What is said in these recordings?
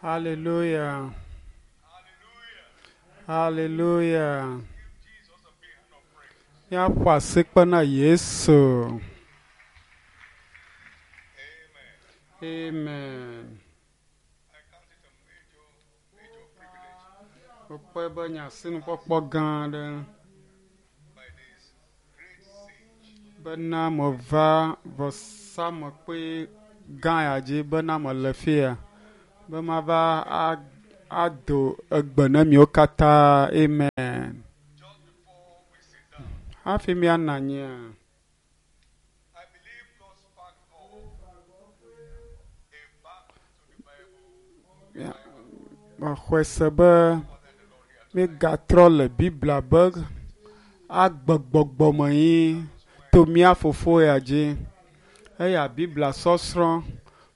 Hallelujah. Hallelujah. Míaƒo asikpe na Yesu. Amen. Wokpɔe be nye asinukpɔkpɔ gã aɖe bena meva vɔsamlekpui gã ya dzi bena mele fia be mava ado egbe na miwo katã. Amen. Hafi míanɔ anyia, mexɔe se be míegatrɔ le Biblia be agbegbɔgbɔme ʋĩ to mía Fofo ya dzi. Eya Biblia sɔsrɔ̃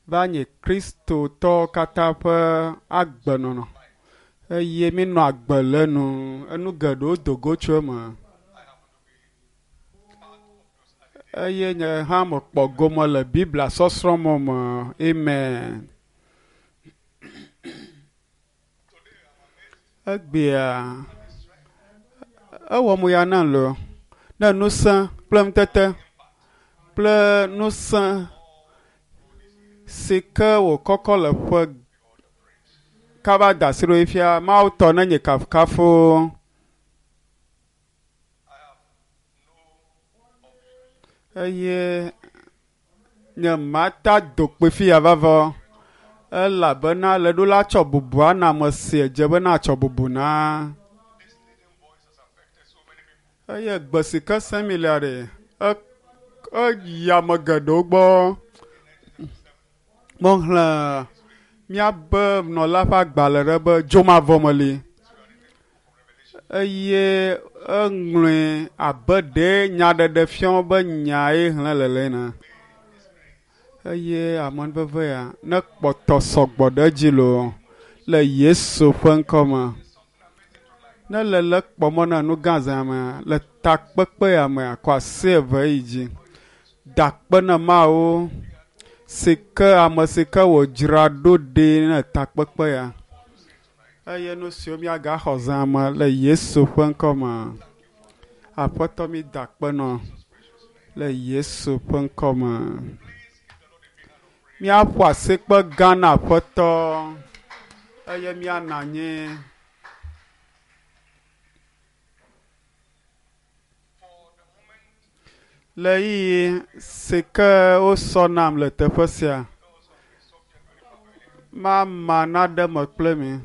va nye Kristotɔwo katã ƒe agbenɔnɔ eye míenɔ agbe le enu. Enu geɖewo do go tso eme eye nye hã mekpɔ gome le Biblia sɔsrɔ̃ mɔ me. Amen. Egbea ewɔ mo ya nam loo ne ŋusẽ kple nutete kple ŋusẽ si ke wòkɔkɔ le ƒe kaba da asi ɖo fia Mawu tɔ nenye kafukafu. Eye nye mata do kpe fia vavɔ elabena le ɖo la tsɔ bubu ana ame si edze be natsɔ bubu na. Eye gbe si ke sem mi lea ɖe eyi ame geɖewo gbɔ. Mexlẽ míabe nɔla ƒe agbalẽ ɖe be dzomavɔ meli eye eŋlɔe abe ɖe nyaɖeɖefia be nyae xlẽ le le ene. Eye amenuveve ya ne kpɔtɔ sɔgbɔ ɖe edzi loo le Yesu ƒe ŋkɔme. Ne le le kpɔmɔ na nu gã zã mea, le takpekpe ya mea, kɔ asi eve yi dzi. Da akpe na Mawu si ke ame si ke wòdzra ɖo ɖi ne takpekpe ya. Eye nu siwo míagaxɔ zã me le Yesu ƒe ŋkɔme. Aƒetɔ mi da akpe nɔ le Yesu ƒe ŋkɔme. Míaƒo asikpe gã na Aƒetɔ eye míanɔ anyi. Le ɣeyiɣi si ke wosɔ nam le teƒe sia, mama naɖe me kple mi.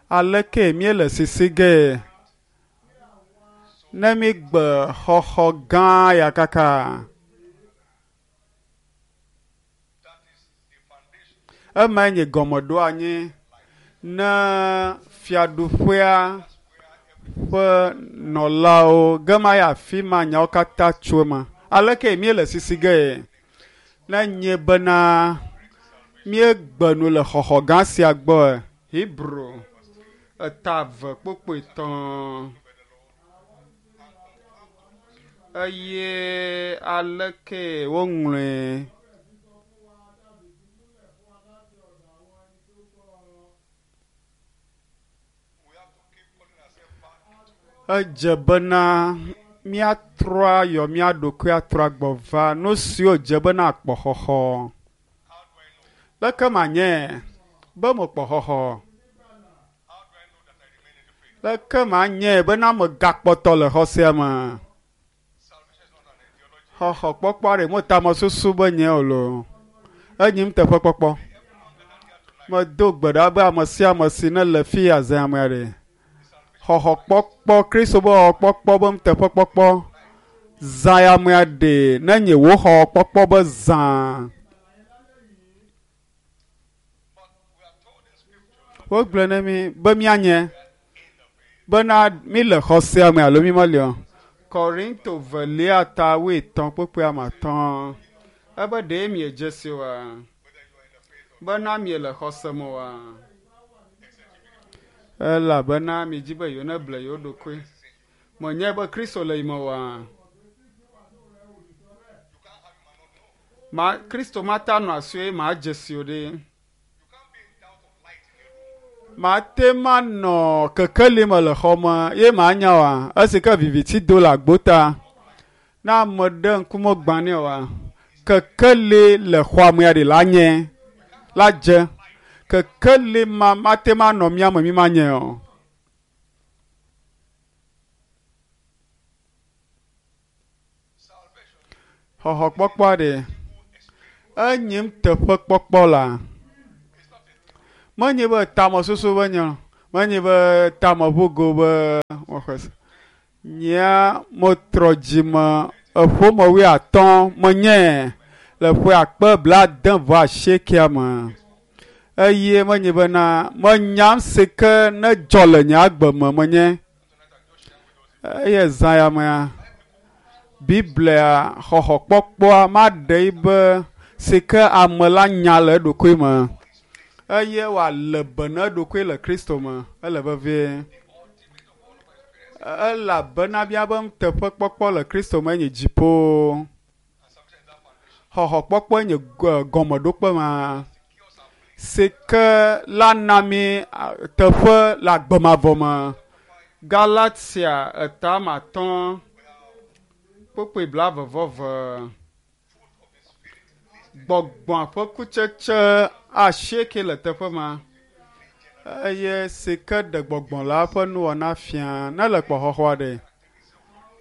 Aleke míele sisi gee ne mígbe xɔxɔ gã ya kaka? Emae nye gɔmeɖoanyi ne fiaɖuƒea ƒe nɔlawo gema yi afi ma nyawo katã tso eme. Aleke míele sisi gee ne nye bena míegbe nu le xɔxɔ gã sia gbɔ? Hebrew eta eve kpokpoe tɔ̃ eye aleke woŋlɔe? Edze bena míatrɔ ayɔ mía ɖokui atrɔ agbɔ va nu siwo dze bena akpɔ xɔxɔ. Leke manye be mekpɔ xɔxɔ? Leke manye bena megakpɔtɔ le xɔ sia me? Xɔxɔkpɔkpɔ ɖe mo tamesusu be nye o loo. Enyi nuteƒekpɔkpɔ. Medo gbe ɖa be ame sia ame si ne le fi ya zã amea ɖe. Xɔxɔkpɔkpɔ, Kristo be xɔxɔkpɔkpɔ be nuteƒekpɔkpɔ zã ya amea ɖe ne nye wò xɔxɔkpɔkpɔ be zã. Wogblɔe na mí be míanye bena míle xɔ sia me alo mímeli o. Korinto velia ta wuietɔ̃ kpukpui ame atɔ̃. Ebe ɖe miedze si oa? Bena miele xɔse me oa? Elabena miedi be yewoneble yewo ɖokui. Menyae be Kristo le yi me oa? Ma Kristo mate anɔ asiwò eye madze si o ɖe. Mate manɔ kekeli me le xɔ me ye manya oa esi ke viviti do le agbo ta. Ne ame ɖe ŋkume gbã nɛ oa, kekeli le xɔa mea ɖi la nye la dze. Kekeli ma mate manɔ mía me mi manye o. Xɔxɔkpɔkpɔ ɖe enyim teƒekpɔkpɔ la. Menye be tamesusu be nye, menye be tameʋugo be wɔxɔe se. Nyea metrɔ dzime eƒome wuiatɔ̃ menye le ƒe akpe 89 me. Eye menye bena menyam si ke ne dzɔ le nye agbe me menye. Eye zã ya mea, Biblia xɔxɔkpɔkpɔa maɖe yi be si ke ame la nya le eɖokui me eye wòale be na eɖokui le Kristo me. Ele vevie. Elabena míabe nuteƒekpɔkpɔ le Kristo me nye dziƒo. Xɔxɔkpɔkpɔe nye gɔmeɖokpe ma si ke la na mí teƒe le agbe mavɔ me. Galatia etame atɔ̃ kpukpui 22. Gbɔgbɔa ƒe kutsetse asieke le teƒe ma eye si ke ɖe gbɔgbɔ la ƒe nuwɔna fia ne le kpɔxɔxɔa ɖe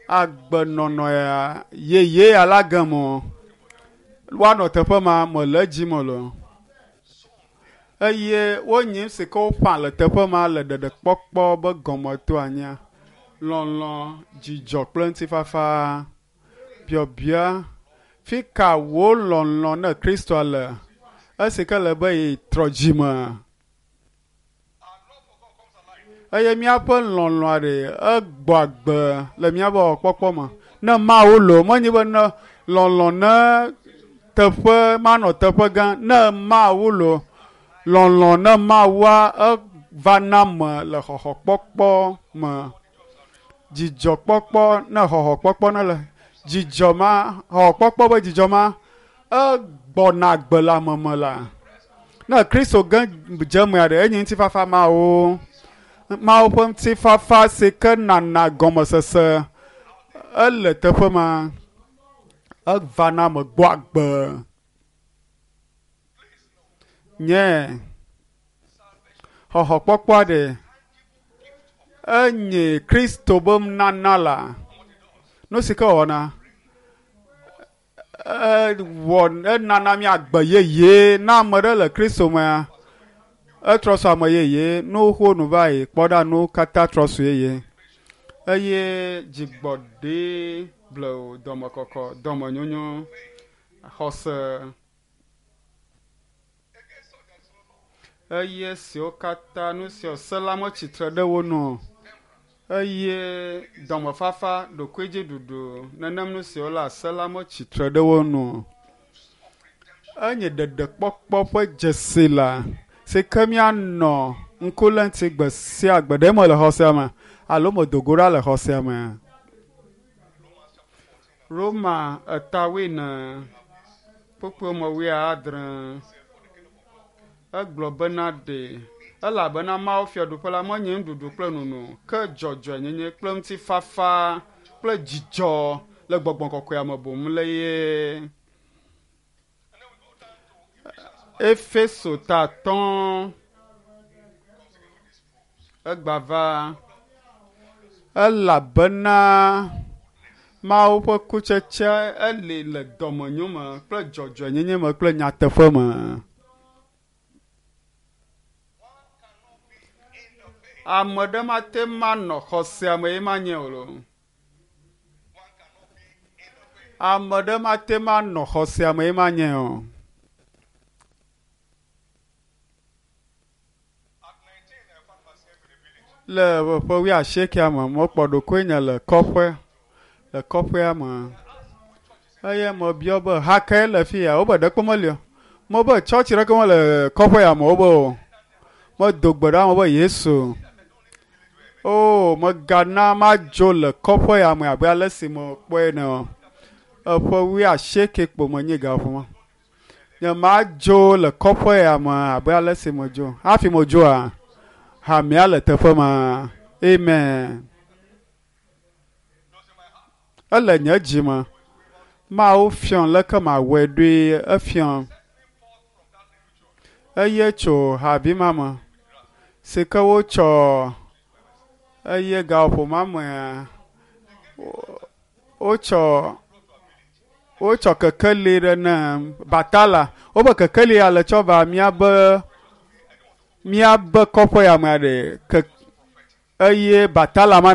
agbenɔnɔ ya yeye ya la gem o woanɔ teƒe ma mele edzi me lo eye wonyi si ke woƒã le teƒe ma le ɖeɖekpɔkpɔ be gɔmeto anyia lɔlɔ̃, dzidzɔ kple ŋutifafa. Biabia fi ka wò lɔlɔ̃ ne Kristoa le esi ke le be yetrɔ dzime eye míaƒe lɔlɔ̃a ɖe egbɔ agbe le míaƒe wɔkpɔkpɔ me. Ne Mawu lo menye be ne lɔlɔ̃ ne teƒe manɔ teƒe gã ne Mawu lo lɔlɔ̃ ne Mawua eva na me le xɔxɔkpɔkpɔ me. Dzidzɔkpɔkpɔ ne xɔxɔkpɔkpɔ ne le dzidzɔ ma xɔxɔkpɔkpɔ be dzidzɔ ma egbɔna agbe le ame me la. Ne Kristo ge dze mea ɖe enye ŋutifafa Mawu. Mawu ƒe ŋutifafa si ke nana gɔmesese ele teƒe ma. Eva na ame gbɔ agbe. Nye xɔxɔkpɔkpɔa ɖe enye Kristo be nunana la. Nu si ke wɔna ewɔ enana mí agbe yeye na ame ɖe le Kristo mea etrɔ su ame yeye nu xoxo nu va yi kpɔ ɖa nu katã trɔ su yeye eye dzigbɔɖi blewu dɔmekɔkɔ dɔmenyonyo xɔse eye siwo katã nu siwo se la metsitre ɖe wo nu o eye dɔmefafa ɖokuidziɖuɖu nenem nu siwo le se la metsitre ɖe wo nu o. Enye ɖeɖekpɔkpɔ ƒe dzesi la si ke míanɔ ŋku lém ŋuti gbe sia gbe ɖe mele xɔsea me alo medo go ɖa le xɔsea me. Roma eta wuiene kpukpui me wuiadre egblɔ bena ɖe elabena Mawu fiaɖuƒe la menye nuɖuɖu kple nono ke dzɔdzɔenyenye kple ŋutifafa kple dzidzɔ le gbɔgbɔ kɔkɔea me boŋ le ye. Efeso ta atɔ̃ egbava elabena Mawu ƒe kutsetse eli le dɔmenyo me kple dzɔdzɔenyenye me kple nyateƒe me. Ame ɖe mate manɔ xɔsea me ye manye o lo. Ame ɖe mate manɔ xɔsea me ye manye o. Le ƒe wuiasiekea me mekpɔ ɖokuinye le kɔƒe le kɔƒea me eye mebiɔ be ha kae le fi ya wobe ɖekpe meli o. Mebe tsɔtsi ɖeke mele kɔƒe ya me wobe o. Medo gbe ɖa me be Yesu o megana madzo le kɔƒe ya me abe ale si mekpɔe ene o. Eƒe wuiasieke kpo menyi gaƒoƒo ma. Nye madzo le kɔƒe ya me abe ale si medzo. Hafi medzoa, Hamea le teƒe ma. Amen. Ele nye dzi me. Mawu fiɔm leke mawɔe ɖoe efiɔm. Eye tso havi ma me si ke wotsɔ eye gaƒoƒo ma mea wotsɔ wotsɔ kekeli ɖe ne batala. Wobe kekeli ya le tsɔ va míabe míabe kɔƒe ya mea ɖe ke eye batala ma.